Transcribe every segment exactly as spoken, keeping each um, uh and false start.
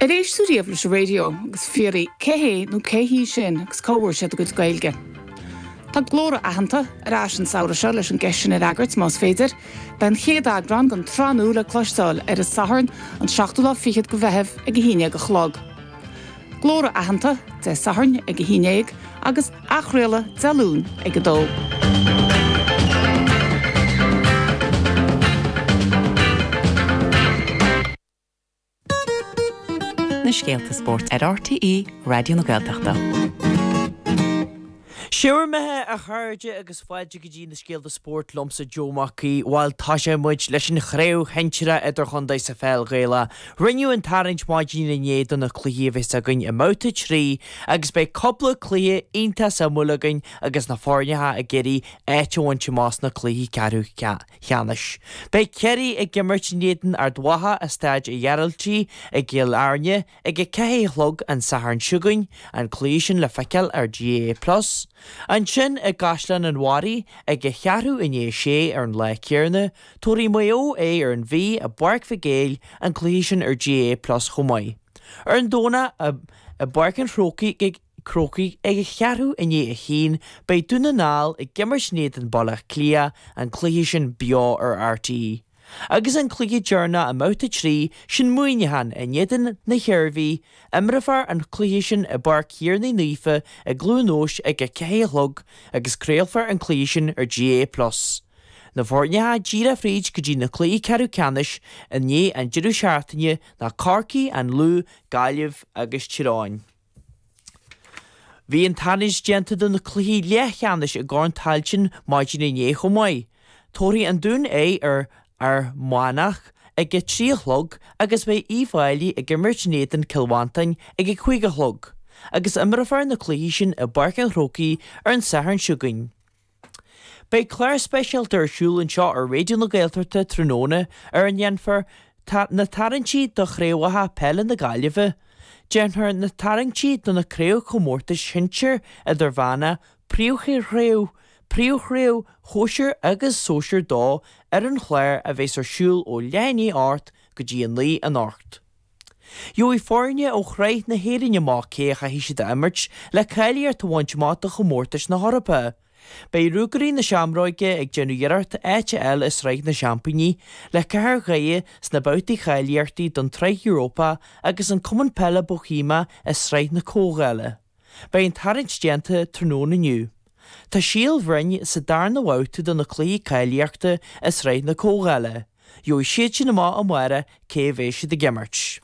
Ar éist tú riamh leis an raidió agus fiafraí cé hé nó cé hí sin agus cá bhfuair siad a gcuid Gaeilge. Tá Glór Aitheanta ar ais an samhradh seo leis an gceist sin a fhreagairt más féidir, Beidh an chéad eagrán den tsraith nua le cloisteáil ar an Satharn an seachtú lá fichead de Mheitheamh ag a haon déag a chlog. Glór Aitheanta Dé Sathairn ag a haon déag agus athchraoladh Dé Luain ag a dó. Na scéalta spóirt ar RTÉ Raidió na Gaeltachta. Siúr methe a chairde agus fáilte go dtí na scéalta spóirt liomsa Joe Mac Aoidh bhuel tosóidh muid leis an chraobh shinsearach idirchontae sa pheil Ghaelach. Rinneadh an tarraingt maidin inné do na cluichí a bheas againn i mbabhta trí agus beidh cúpla cluiche iontach suimiúil againn agus na foirne ag iarraidh áit a bhaint amach sna cluichí ceathrú ceannais. Beidh Ciarraí ag imirt in éadan Ard Mhacha i Staid an Ghearaltaigh i gCill Airne ag a ceathair a chlog an Satharn seo chugainn, an cluiche sin le feiceáil ar GAA Plus. Ansin i gCaisleán an Bharraigh ag a cheathrú i ndiaidh a sé ar an lá céanna, tabharfaidh Maigh Eo aghaidh ar an Mhí i bPáirc Mhic Éil, an cluiche sin ar GAA Plus chomh maith. Ar an Domhnach i bPáirc an Chrócaigh Crócaigh ag a cheathrú i ndiaidh a haon, beidh Dún na nGall ag imirt in éadan Baile Átha Cliath, an cluiche sin beo ar RTÉ. Agus an cluiche deireanach i mbabhta trí, sin Muineachán in éadan na hIarmhí, imreofar an cluiche sin i bPáirc Thiarnaigh Naofa i gCluain Eois ag a ceathair a chlog agus craolfar an cluiche sin ar GAA Plus. Na foirne atá díreach fríd go dtí na cluichí ceathrú ceannais i ndiaidh an deireadh seachtaine ná Corcaigh, An Lú, Gaillimh agus Tír Eoghain. Bhí an tarraingt déanta do na cluichí leathcheannais i gCorn Tailteann maidin inné chomh maith. Tabharfaidh an Dún aghaidh ar Fhear Manach ag a trí a chlog agus beidh Uíbh Fhailí ag imirt in éadan Cill Mhantáin ag a cúig a chlog, agus imreofar na cluichí sin i bPáirc an Chrócaigh ar an Satharn seo chugainn. Beidh clár speisialta ar siúl anseo ar Raidió na Gaeltachta tráthnóna ar a ndéanfar na tarraingtí do chraobhacha peile na Gaillimhe. Déanfar na tarraingtí do na craobhchomórtais shinsir, idirmheánach, príomhchraobh, príomhchraobh shóisir agus sóisir dó ar an chlár a bheas ar siúl ó leath i ndiaidh a hocht go dtí a naoi anocht. Gheobhaidh foirne ó Shraith na hÉireann amach cé a chaithfidh siad a imirt le cáilíocht a bhaint amach do chomórtais na hEorpa. Beidh Ruagairí na Seamróige ag déanamh iarracht áit a fháil i Sraith na Seaimpíní le Cathair Dhoire sna babhtaí cháilíochta don tSraith Europa agus an Cumann Peile Boihéamach i Sraith na Comhdhála. Beidh an tarraingt déanta tráthnóna inniu. Tá Síol Bhroin sa darna bhabhta do na cluichí cáilíochta i Sraith na Comhdhála. Gheobhaidh siad sin amach amárach cé a bheidh siad ag imirt.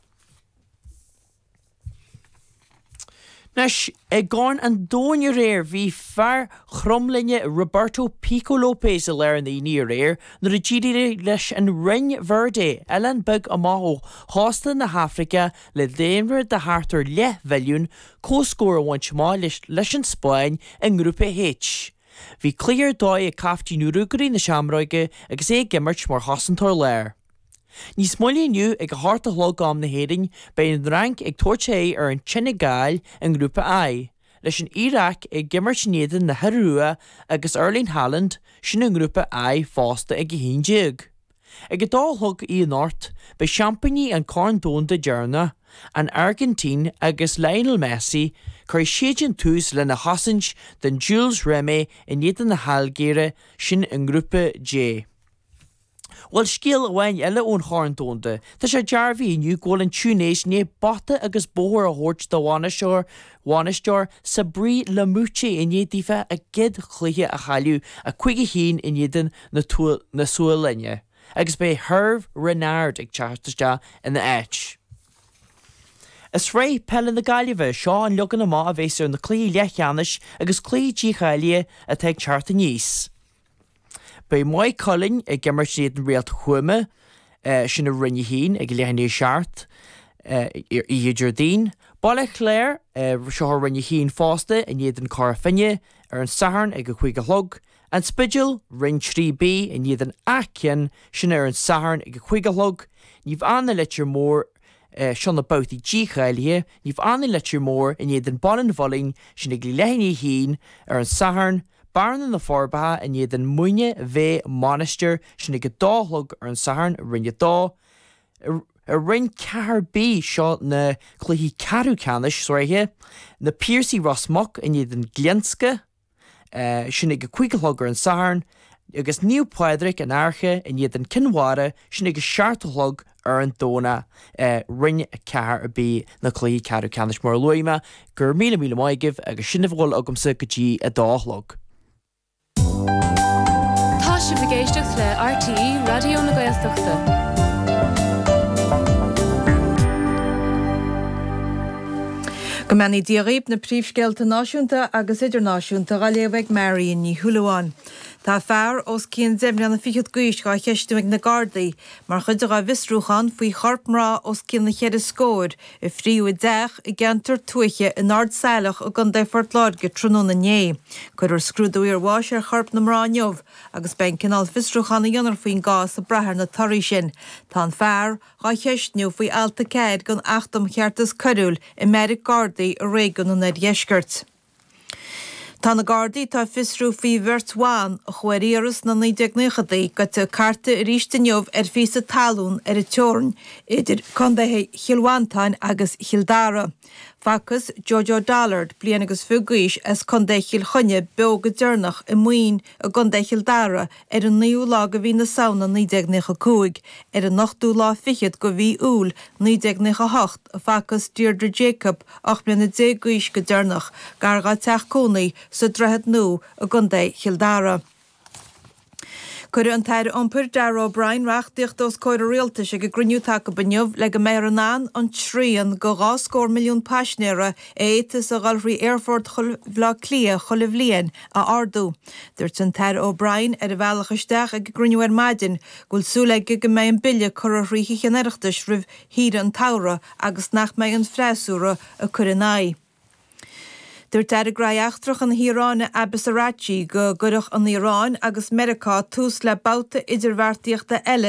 Anois, i gCorn an Domhain aréir, bhí fear Chromghlinne Roberto Pico Lopes i lár an aonaigh aréir nuair a d'éirigh leis an Rinn Verde, oileán beag amach ó chósta na hAfraice le daonra de thart ar leathmhilliún, comhscór a bhaint amach leis an Spáinn i nGrúpa H. Bhí cluiche ar dóigh ag caiftín Ruagairí na Seamróige agus é ag imirt mar chosantóir láir. Níos moille inniu, ag a hocht a chlog am na hÉireann, beidh an Fhrainc ag tabhairt aghaidh ar an tSeineagáil i nGrúpa I, leis an Iaráic ag imirt in éadan na hIorua agus Erling Haaland, sin i nGrúpa I fosta ag a haon déag. Ag a dó a chlog oíche anocht, beidh seaimpíní an Chorn Domhanda deireanach, an Airgintín agus Lionel Messi, cuirfidh siadsan tús lena chosaint don Jules Rimet in éadan na hAilgéire, sin i nGrúpa J. Bhuel, scéal amháin eile ón Chorn Domhanda. Tá sé dearbhaithe inniu go bhfuil an Túinéis i ndiaidh bata agus bóthar a thabhairt dá bhainisteoir bhainisteoir Sabri Lamouchi i ndiaidh daofa a gcéad chluiche a chailleadh, a cúig a haon in éadan na na Sualainne, agus beidh Herve Renard ag teacht isteach ina áit. I Sraith Peile na Gaillimhe, seo an leagan amach a bheas ar na cluichí leathcheannais agus cluichí dícháilithe atá ag teacht aníos. Beidh Maigh Cuilinn ag imirt in éadan Réalt Thuama, sin i Roinn a haon, ag leath i ndiaidh a seacht oíche Déardaoin. Baile Chláir, seo i Roinn a haon fosta, in éadan Cora Finne ar an Satharn ag a cúig a chlog. An Spidéal, Roinn trí B, in éadan Áth Cinn, sin ar an Satharn ag a cúig a chlog. Naomh Anna Leitir Móir, seo na babhtaí dícháilithe, Naomh Anna Leitir Móir in éadan Baile an Mhuilinn, sin ag leath i ndiaidh a haon ar an Satharn. Bearna na Forbacha in éadan Muine Mheá Mainistir, sin ag a dó a chlog ar an Satharn i Roinn a dó. I I Roinn ceathair B seo na cluichí ceathrú ceannais sraithe, Na Piarsaigh Ros Muc in éadan Glionsca, sin ag a cúig a chlog ar an Satharn, agus Naomh Pádraig an Fhairche in éadan Cinn Mhara, sin ag a seacht a chlog ar an Domhnach. Roinn ceathair B na cluichí ceathrú ceannais mar a luaigh mé. Go raibh míle míle maith agaibh agus sin a bhfuil agamsa go dtí a dó a chlog. Tá sibh ag éisteacht le RTÉ Raidió na Gaeltachta. Go mbeannaí Dia dhaoibh, na príomhscéalta náisiúnta agus idirnáisiúnta á léamh ag Marion Ní Shúilleabháin. Tá fear os cionn deich mbliana fichead d'aois dhá cheistiú ag na Gardaí mar chuid dhá bhfiosrúchán faoi chorp mná os cionn na cheithre scóir a fríodh i dteach i gceantar tuaithe in Ard Saileach i gContae Phort Láirge tráthnóna inné. Cuirfear scrúdú iarbháis ar chorp na mná inniu agus beidh an cineál fiosrúcháin a dhéanfar faoin gcás ag brath ar na torthaí sin. Tá an fear dhá cheistniú faoi alt a ceathair den Acht um Cheartas Coiriúil i mbeairic Gardaí i réigiún an Oirdheiscirt. Tá na Gardaí atá ag fiosrú faoi bheirt bhan a chuaigh ar iarraidh sna naoi déag naochadaí gaibhte ag cartadh arís inniu ar phíosa talún ar an teorainn idir contaetha Chill Mhantáin agus Chill Dara. Facthas Jojo Dollard, bliain agus fiche d'aois, as Contae Chill Chainnigh beo go deireanach i Maoin i gContae Chill Dara ar an naoú lá de mhí na Samhna naoi déag naocha cúig. Ar an ochtú lá fichead de mhí Iúil naoi déag naocha hocht a facthas Deirdre Jacob, ocht mbliana déag d'aois, go deireanach gar dá teach cónaí sa Droichead Nua i gContae Chill Dara. Cuirfidh an tAire Iompair Darragh O'Brien reachtaíocht os comhair an Rialtais ag an gcruinniú atá acu inniu le go mbeifear in ann an srian de dhá scór milliún paisinéara a fhéadfas a dhul thrí Aerfort Bhaile Átha Cliath chuile bhliain a ardú. Dúirt an tAire O'Brien ar a bhealach isteach ag an gcruinniú ar maidin go bhfuil súil aige go mbeidh an bille curtha thrí Thithe an Oireachtais roimh shaoire an tsamhraidh agus nach mbeidh an freasúra ag cur ina aghaidh. Dúirt Aire Gnóthaí Eachtracha na hIaráine Abbas Araghchi go gcuirfeadh an Iaráin agus Meiriceá tús le babhta idirbheartaíochta eile